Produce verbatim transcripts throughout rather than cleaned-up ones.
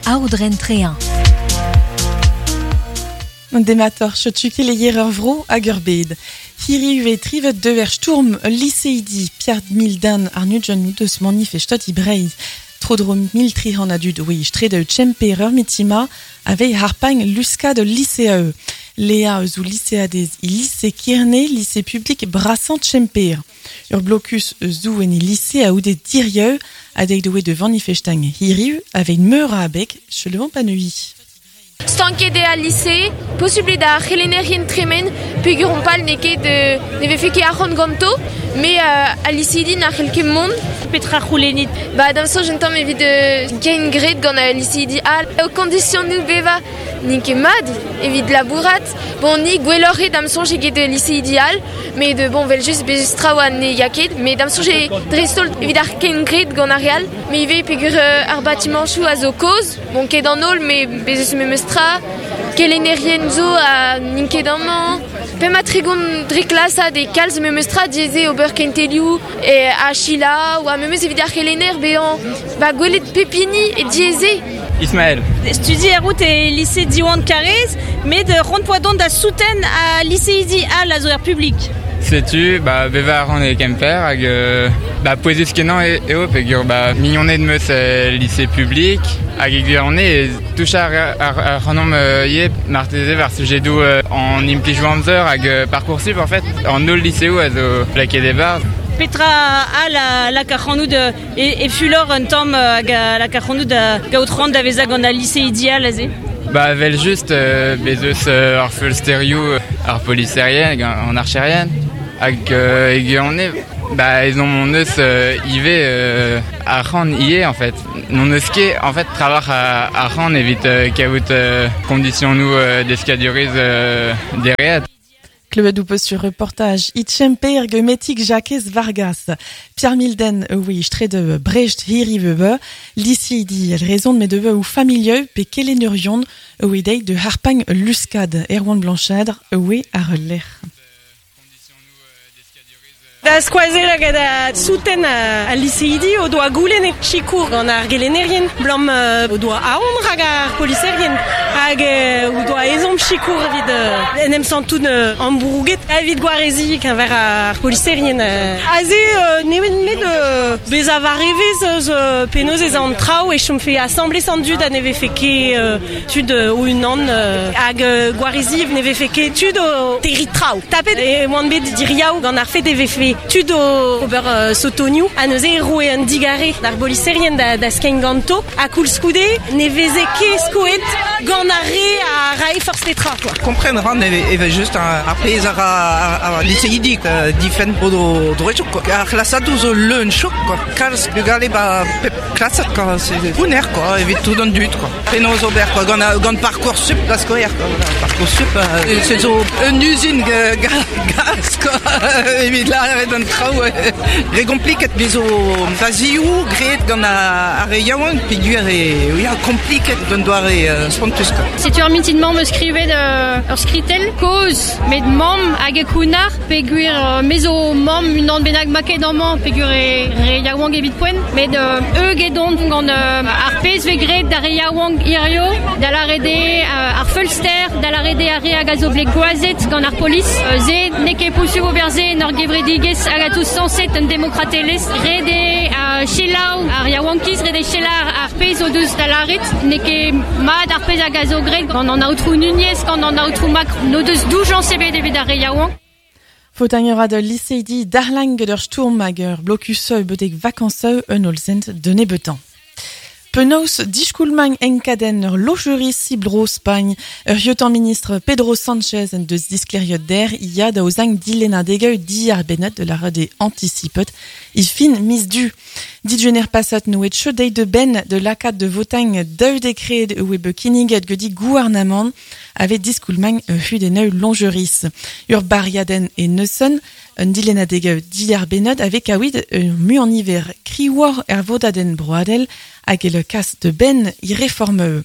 Aodren Trein. Demator setu keleier ur vro hag ur bed. Hiriv e trivet deuer stourm liseidi Pierre Mildan ar nudjon deus manifestot i Breizh. Tro-dro mil tri c'hant a dud oe strede Tchemper ur mitima avei harpagn luskad lycée. Léa eus ou lycéadez i lycée Kirne, lycée public Brassan Tchemper. Ur blocus eus ou en i lycée a oude dirieu adeg doe de manifestang hiriv avei meur a abeg chelevant panui. Stanket eo al lycée, possible da c'helennerien tremen, peogwir on pal n'eo ket ne vefe ket arc'hant ganto, mais euh, al lycéidi n'a c'hell ket mont. Petra c'houlennit? Ba d'am soñj un tamm evit euh, kein graet gant al lycéidi all. O kondisionoù bevañ n'int ket mat evit labourat. Bon, ni gwelloc'h eo d'am soñj eget lycéidi all, mais de bon, vel just bez traoù a ne ya ket, mais d'am soñj eo dreist-holl evit ar kein graet gant ar re all, mais ivez peogwir euh, ar batimanchoù a zo kozh, bon ket an holl, mais bez eus memes tra, kelennerien zo a n'int ket amañ. Pemp ha tregont dre klas e kalz memes tra diaes eo ober kentelioù e a selaou a memes evit ar c'helenner bezañ ba gwelet pep hini e diaes eo. Ismaël. Studi a rout e lycée Diwan Karaez, met c'hoant poa dont da souten a lycéidi all a zo er public. Setu, ba, bevañ a ran e Kemper hag euh, ba, pouezus kenañ e, eo peogwir ba, mignoned meus e lycée public hag e gwirionez e touch ar, ar, ar c'hanomp euh, ivez marteze war sujedoù euh, an implijoù amzer hag euh, Parcoursup en fait an holl lycéoù a zo lakaet e-barzh. Petra a la, lak ac'hanout e, e fulor un tamm hag a lak ac'hanout da gaout c'hoant da vezañ gant al lycéidi all aze? Ba, vel just euh, bez eus euh, ar feulsterioù ar poliserien an archerien hag euh, e gwirionez ba ezhomm hon eus euh, ivez euh, arc'hant ivez en fait. N'hon eus ket en fait trawalc'h a arc'hant evit euh, kaout euh, kondisionoù euh, deskadurezh euh, dereat. Klevet ho peus sur reportage e Tchemper ge Metig Jakez Vargas. Pierre Milden oe strede Brecht hiriv lycéidi el rezon met deve ou familieu pe kelennerion oe deit de harpagn luskad Erwan Blanchard oe ar lec'h. Da skoazell hag da souten al lycéidi o doa goulenn e sikour gant ar gelennerien blam o doa aon rak ar poliserien hag o doa ezhomm sikour evit en em santout ambrouget evit gwarezi keñver ar poliserien. Aze nemet met bezañ war evezh eus penaos ez an traoù e chomfe asambles an dud ha ne vefe ket tud o-unan hag gwarezi ne vefe ket tud o terriñ traoù. Tapet e oan bet diriaou gant ar fet e vefe tud o ober uh, sotonioù ha neuze e roe un digare d'ar boliserien da, da skein ganto ha koulskoude ne veze ket skoet gant ar re a rae forzh petra quoi. Kompren ran e eve just ar, ar pezh ar, ar, ar lycéidi uh, difenn o do droetioù quoi. Ar c'hlasadoù zo leun chok quoi. Kalz bugale ba pep klasad quoi. C'est pounner quoi, evit tout an dud quoi. Penaos ober quoi, gant, gant Parcoursup da skouer quoi. Voilà, Parcoursup, euh, c'est zo un usine gaz quoi. Evit la an traoù re kompliket bez zo fazioù graet gant ar re yaouank peogwir e ya kompliket d'un doare euh, spontus quoi. Setu ur mintin-mañ meus skrivet euh, ur skritel kozh met mamm hag e kounar peogwir euh, me zo mamm unan bennak maket amañ peogwir e re yaouank evit poent met euh, eug edon gant euh, ar pezh vez graet d'ar re yaouank hirio da lâret eo euh, ar feulster da lâret eo ar re hag a zo bet gwazet gant ar polis euh, se n'eo ket posubl ober se en ur gevredigezh hag a tous sañset un demokratelezh ret eo uh, selaou ar yaouankiz ret eo selaou ar pezh o deus da lâret n'eo ket mat ar pezh hag a zo graet gant an aotrou Nunez gant an aotrou Macron n'o deus doujañs ebet evit ar re yaouank. Faotaiñ a ra da lycéidi darlang ur stourm hag ur blokuseu betek vakañsoù un hollzent de nebeutañ. Penaos diskoulmañ enkadenn ur lojeris e Bro Spagn ur yeutañ ministr Pedro Sánchez en deus disklêriet dec'h ya da aozañ dilennadegoù diarbennet de la rede anticipet e fin miz Du. Digwener paset n'oe ket deuet da benn de lakaat da votañ daou dekred oe bet kinniget gedi gouarnamant aveit diskoulmañ kudennoù lojeris. Ur bariadenn e neuzen un dilennadegoù diarbennet aveit kaout ur muiañ-niver kriñvoc'h er vodadenn broadel hag e le kas da benn he reformoù.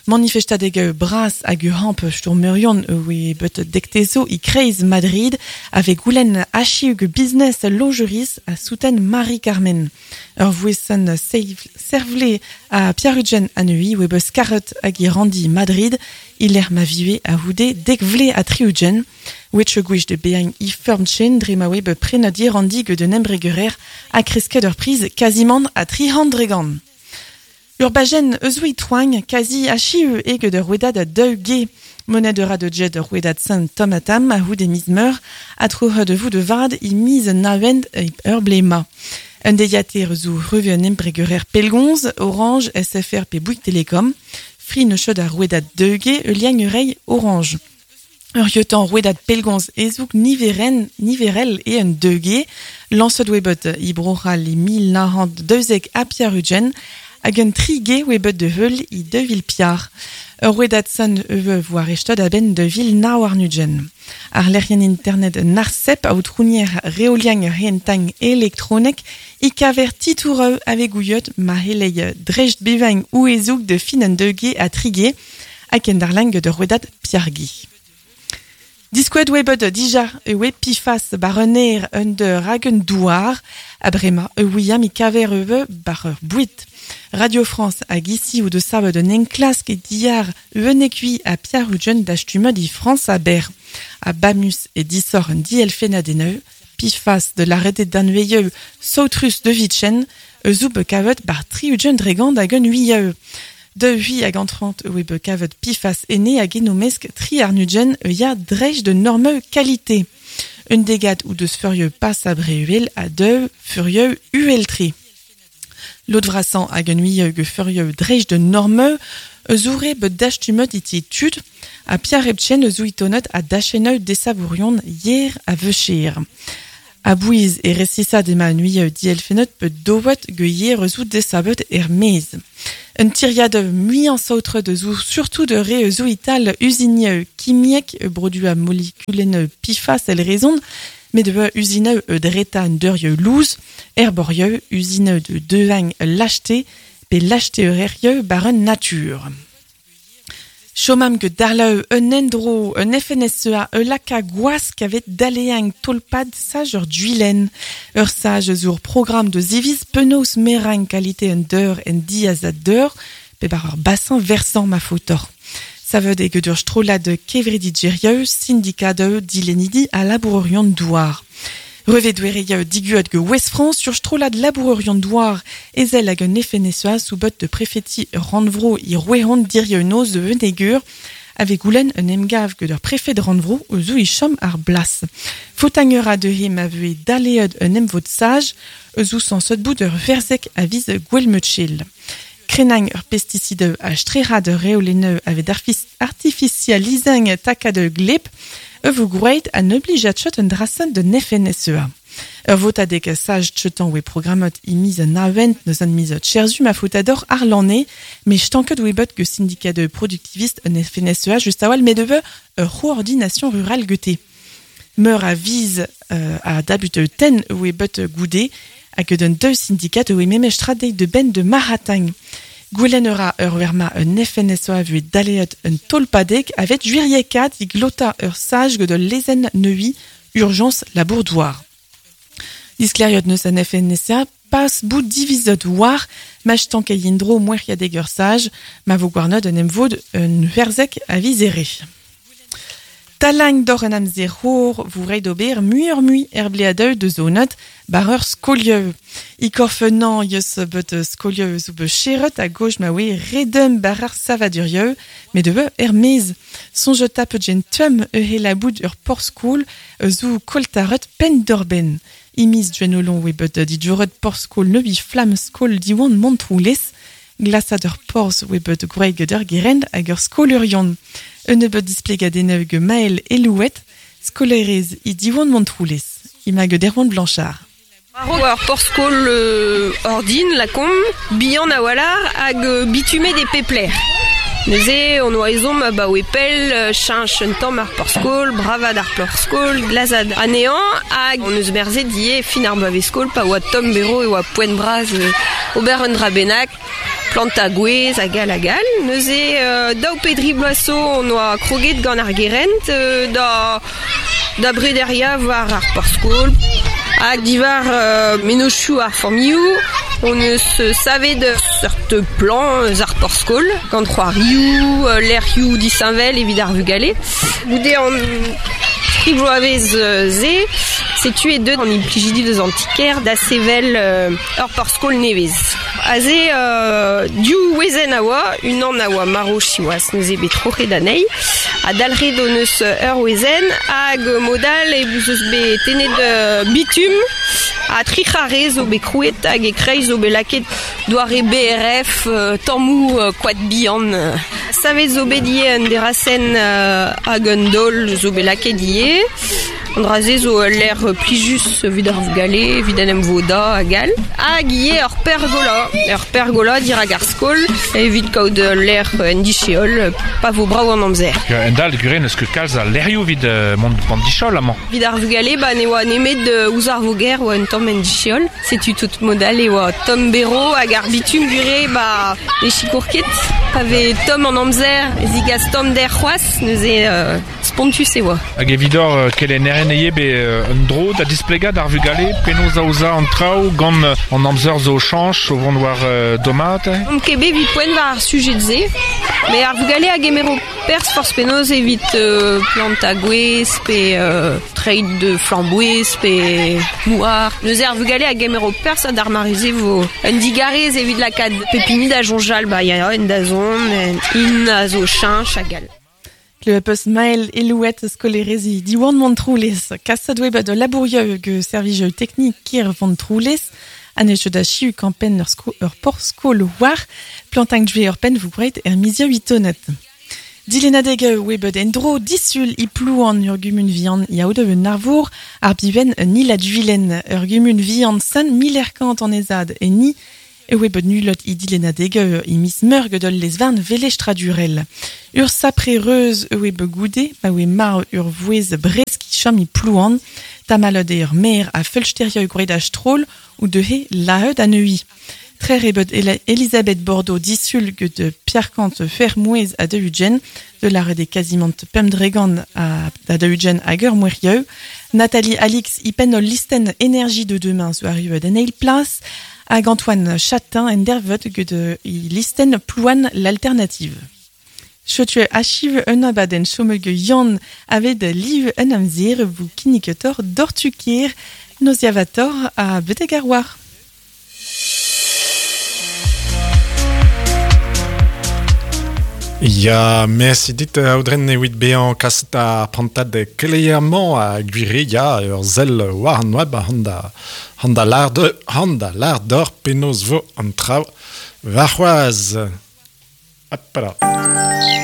Manifestadeg bras hag ur hamp stourmerion oe bet dektezo i kreiz Madrid ave goulenn achiug business lojeris a souten Marie-Carmen. Ur vouesan servle a Pierre-Ugen anui oe beus karet hag i randi Madrid iler ma vive a houde dek vle a triugen. Wetch gwech de beañ i fermchen dre ma oe be prenadier randi ge de nembregerer a kresket ur priz quasiment a tri handregan. Ur bajen eus oe toagn kazi achiu ege de rouedad a deux ge. Monet de de jet de rouedad saint tomatam a houde miz meur a tro de vou de vad i miz navend e ur blema. Un deiater zo reve un embregerer pelgonz, Orange, S F R pe Bouygues Telecom, Free ne chod a rouedad deux ge e liagn urei Orange. Ur yotan rouedad pelgonz ezouk niveren, niverel e un deux ge, lansod webot i bro'hal i mil nahant deuzek a Pierre-Ugen, hag un tri ge webot de heul i deux vil piar. Ur rouedad san eue voar echtod a ben de vil na war nugen. Ar lerien internet narsep a outrounier reoliang hentang elektronek i kaver titoureu ave gouiot ma helei drecht bevang ou ezouk de fin an deux ge a tri ge hag en darlang de rouedad piargi. Diskoued webot dija ewe pifas bar un aer un de ragen douar a brema e ouiam i kaver eue bar ur bouit. Radio France hag ici ou de sabe de nenklask e diar eunekui a Pierre-Ugen d'achtumod i France a ber. A Bamus e disor un dielfena deneu, pifas de l'arrêté d'anveieu sautrus de Vitchen, eus be kavet bar tri-ugen dregand hag un uieu. De hui hag antrant oe be kavet pifas ene hag enomesk tri arnugen e ya drej de norme qualité. Un degat ou deus furieux pas a breuel a deux furieux ueltri. L'autre vrasan hag un uieu ge furieux drej de norme eus oure be dachtumot iti tud a Pierre Ebchen eus ouitonot a dacheneu desavourion hier a veucher. A bouiz e resisa de ma nuieu dielfenot be dowot ge hier eus out desabet er mez. Un tiriad muian saotre de zou, surtout de re eus ital usinieu kimiek e brodua molekulen pifas el raison, mais de usineu e dreta un deurieu louz, erborieu usineu de devang l'acheté, pe l'acheté eurerieu bar un nature. Chomam ge darleu un endro, un F N S E A, e laka gwask avet daleang tolpad sage ur duilen. Ur sage zur programme de ziviz penaos merang qualité un deur en diaz a deur, pe bar ur bassin versant ma fotor. Ça veut dire que dur strola de kevredi djerieu, syndicat de dilenidi a labourerion douar. Reve douereia diguot ge West France sur strola de labourerion douar ezel hag un F N S E A sous bot de préfeti Randvro i rouehon dirieu noz de venegur avec goulen un emgav ge der préfet de Randvro eus i chom ar blas. Fotangera de he ma vue daleod un emvod sage eus ou sans sot bout de verzek a viz gwelmutchil. Krenang ur pesticide a strera de reoleneu avec artificialisang taka de glep e vous groeit an oblijat chot un drasen de F N S E A. Ur votadek sage chetan oe programmot i miz an avent neus an miz cherzu ma fotador ar lanne, mais stanket oe bot ge syndicat de productiviste un F N S E A just awal medeve ur coordination rurale gete. Meur a viz euh, a dabut ten oe bot goude hag d'un deux syndicat oe memestra deit de ben de Maratang. Goulenera ur werma un F N S E A vu daleot un tolpadek avet juiriekat i glota ur sage de lezen neui urgence labourdoir. Diskleriot neus an F N S E A pas bout divisot war mach tankayindro moueriadeg ur sage ma vo gwarnod un emvod un verzek a vizere. Talang d'or un amzer hor vous rei d'ober muur mui er bleadeu de zonot bar ur skolieu. I korfenan yeus bet skolieu zo be cheret a gauche ma oe redem bar ar savadurieu, mais de er mez. Sonje tape gen tum e he la bout ur por skol zo koltaret pen d'orben. I miz dwenolon oe bet didjoret por skol neubi flam skol diwan montroulez, glasad ur porz oe bet gwreg d'ur gerend hag ur skol urion. Un nebeut displegadeneu ge Maël Elouet, skolerez i diwan Montroulez, i mag derwan Blanchard. Ar porskol euh, ordin, la kom, bihan a walar hag bitume des pepler. Neuze, on oa ezhomm a ba oe pell, cheñch un tamm ar porskol, bravad ar porskol, glazad anean, hag on eus merzet die fin ar bloavezh-skol, pa oa tomm bero e oa poent bras ober un dra bennak, planta gwez hag al hag al. Neuze euh, daou pedri bloaso on oa kroget gant ar gerent euh, da, da brederia war ar porskol. Hag divar euh, menochou ar familhou, on eus savet seurt plan eus ar porskol, gant c'hoarioù, euh, lec'hioù disheñvel evit ar vugale. Goude an tri bloavezh ze, setu e deut an implijidi deus an tiker da sevel euh, ur porskol nevez. Aze euh, div wezenn a oa, unan a oa maro siwazh neuze bet troc'het anezhi, ha dalc'het hon eus ur wezenn hag modal e bouz eus bet tennet euh, bitum ha tri c'harre zo bet krouet hag e kreiz zo bet lakaet doare B R F, euh, tammou euh, koad bihan. Savet zo bet ivez un derasenn euh, hag un daol zo bet lakaet ivez. An dra-se zo ul lec'h plijus evit ar vugale, evit an em voda hag all. Hag ivez ur pergola, ur pergola dirak ar skol, evit kaout ul lec'h en dicheol, pa vo brav an amzer. Un dal gure n'eus ket kalz a lec'hioù evit euh, mont an dicheol amañ. Evit ar vugale, ba ne oa nemet euh, ouzh ar voger oa un tamm en dicheol. Setu tout modal e oa tomm bero hag ar bitum gure ba ne sikour ket. Pa vez tomm an amzer, zigas tomm der c'hoazh, neuze euh, spontus e oa. Hag evidor euh, kelennerien eo be euh, un dro da displegad ar vugale penaos aozañ an traoù gant an amzer zo chañch o vont war euh, domat. On ket bet evit poent war ar sujet ze, mais ar vugale a gemero perzh forzh penaos evit euh, planta gwez pe euh, treid de flamboez pe mouar. Neuze ar vugale a gemero perzh ha d'ar mareze vo un digarez evit lakaat pepini da soñjal ba ya en da zon, en in a zo cheñch hag all. Le peus Maël Elouette skolerezi Diwan Montroulez, kasad web de labourieu ge servij teknik kir Vontroulez, anez da chiu kampen ur sko ur porskol war, plantang dve ur pen vous breit er mizia huitonet. Dilenadeg web endro disul i plouan ur gumun vian yaoud un arvour, ar biven ni la duilen ur gumun vian san milerkant an ezad e ni e web nulot i dilenadeg i mis meur gedol les varn velech tradurel. Ur sapre reuz e web goude, ma we mar ur vouez bresk i chom i plouan, tamalod e ur mer a feulsterio gwred a stroll ou de he laheud a neui. Tre rebet Elisabeth Bordeaux disul de Pierre Kant Fermouez a de Ugen, de la rede quasiment Pemdregan a, a de Ugen a Mouerieu, Nathalie Alix i pen listen énergie de demain zo arrive de Neil Place, hag Antoine Chatin en dervet de i listen plouan l'alternative. Chetu achiv un abaden chomege yon aved liv un amzer vous kiniketor dortukir noziavator a betegarwar. Ya, merci dit audren evit bezañ kaset ar prantad keleier-mañ a gwire ya ur sell war an web handa handa lar de handa lar d'or penaos vo an traoù warc'hoazh. Hop là.